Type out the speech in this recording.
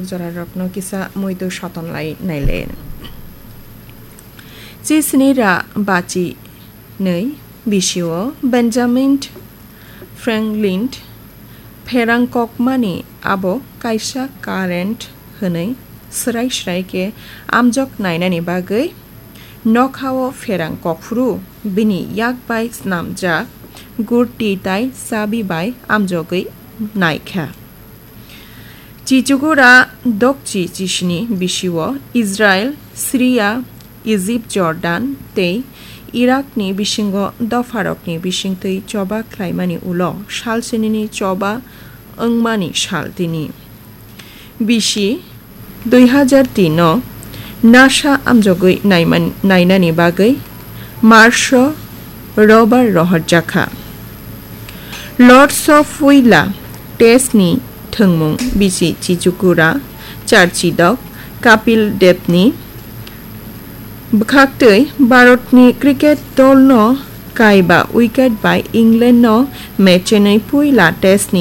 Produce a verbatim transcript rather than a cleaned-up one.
Jorarokno kisa muitu soton lai naile. Chisini ra bachi nei bisio Benjamin Franklin pherang kokmani abo kaisa current hwnwi srai srai khe amjok nainani bagwi nokhao pherang kokphuru bini yak bai snamjak gurti tai chabi bai amjogwi naikha. Chichukura dokchi chisini bisio Israel, Syria, Egypt, Jordan tei Irakni bisingo dopharokni bisingtwi choba khlaimani ulo salsinini choba wngmani sal tini. Bisi dui hazar tin no NASA amjogwi naiman-, nainani bagwi Mars o rover rohorjakha. Lords of Willa test ni thwngmung bisi Chichukura, Charchidok, Kapil Dev ni bwkhaktwi Bharat ni cricket dol no kaiba wicket bai England no match ni puila test ni